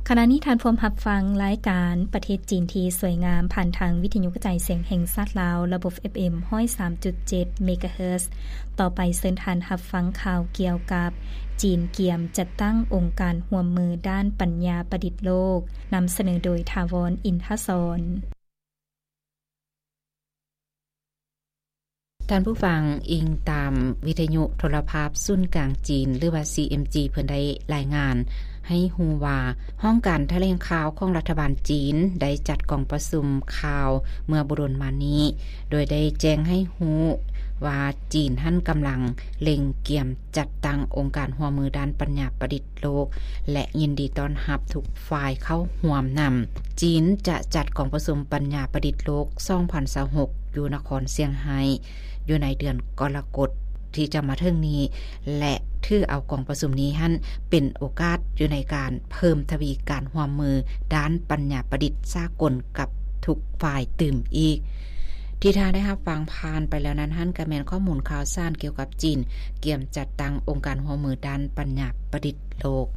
ຂະນະນີ້ທ່ານພວມຮັບຟັງລາຍການປະເທດຈີນທີ່ສວຍງາມ ຜ່ານທາງວິທະຍຸກະຈາຍສຽງແຫ່ງຊາດລາວ ລະບົບ ເອັຟເອັມ ຮ້ອຍສາມຈຸດເຈັດ ເມກາເຮີດ. ຕໍ່ໄປເຊີນທ່ານຮັບຟັງຂ່າວກ່ຽວກັບ ຈີນກຽມຈັດຕັ້ງອົງການຮ່ວມມືດ້ານປັນຍາປະດິດໂລກ, ນຳສະເໜີໂດຍ ຖາວອນ ອິນທະສອນ. ທ່ານຜູ້ຟັງ, ອີງຕາມວິທະຍຸໂທລະພາບສູນກາງຈີນ ຫຼືວ່າ ຊີເອັມຈີ ເພິ່ນໄດ້ລາຍງານໃຫ້ຮູ້ວ່າ ຫ້ອງການຖະແຫຼງຂ່າວຂອງລັດຖະບານຈີນໄດ້ຈັດກອງປະຊຸມຂ່າວເມື່ອບໍ່ດົນມານີ້ ໂດຍໄດ້ແຈ້ງໃຫ້ຮູ້ວ່າ ຈີນຫັ້ນກຳລັງເລັ່ງກຽມຈັດຕັ້ງອົງການຮ່ວມມືດ້ານປັນຍາປະດິດ ໂລກ ແລະ ຍິນດີຕ້ອນຮັບທຸກຝ່າຍເຂົ້າຮ່ວມນຳ. ຈີນຈະຈັດກອງປະຊຸມປັນຍາປະດິດໂລກ ສອງພັນຊາວຫົກ ຢູ່ນະຄອນຊຽງໄຮ້ ຢູ່ໃນເດືອນກໍລະກົດທີ່ຈະມາເຖິງນີ້ ແລະ ຖືເອົາກອງປະຊຸມນີ້ຫັ້ນເປັນໂອກາດຢູ່ໃນການເພີ່ມທະວີການຮ່ວມມືດ້ານປັນຍາປະດິດສາກົນກັບທຸກຝ່າຍຕື່ມອີກ. ທີ່ທ່ານໄດ້ຮັບຟັງຜ່ານໄປແລ້ວນັ້ນຫັ້ນ ກໍແມ່ນຂໍ້ມູນຂ່າວສານກ່ຽວກັບຈີນກຽມຈັດຕັ້ງອົງການຮ່ວມມືດ້ານປັນຍາປະດິດໂລກ.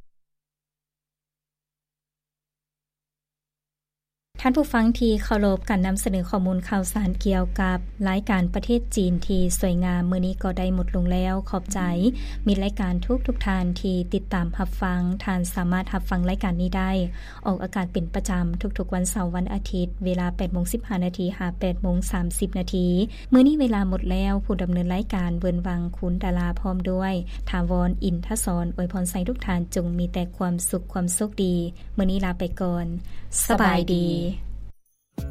ທ່ານຜູ້ຟັງທີ່ເຄົາລົບ, ການນຳສະເໜີຂໍ້ມູນຂ່າວສານກ່ຽວກັບລາຍການປະເທດຈີນທີ່ສວຍງາມມື້ນີ້ກໍໄດ້ໝົດລົງແລ້ວ. ຂອບໃຈມິດລາຍການທຸກໆທ່ານທີ່ຕິດຕາມຮັບຟັງ. ທ່ານສາມາດຮັບຟັງລາຍການນີ້ໄດ້ ອອກອາກາດເປັນປະຈຳທຸກໆວັນເສົາ, ວັນອາທິດ, ເວລາ ແປດໂມງສິບຫ້ານາທີ ຫາ ແປດໂມງສາມສິບນາທີ. ມື້ນີ້ເວລາໝົດແລ້ວ, ຜູ້ດຳເນີນລາຍການ ເວີນວັງ ຄູນດາລາ ພ້ອມດ້ວຍ ຖາວອນ ອິນທະສອນ ອວຍພອນໃຫ້ທຸກທ່ານຈົ່ງມີແຕ່ຄວາມສຸກ, ຄວາມໂຊກດີ. ມື້ນີ້ລາໄປກ່ອນ. ສະບາຍດີ.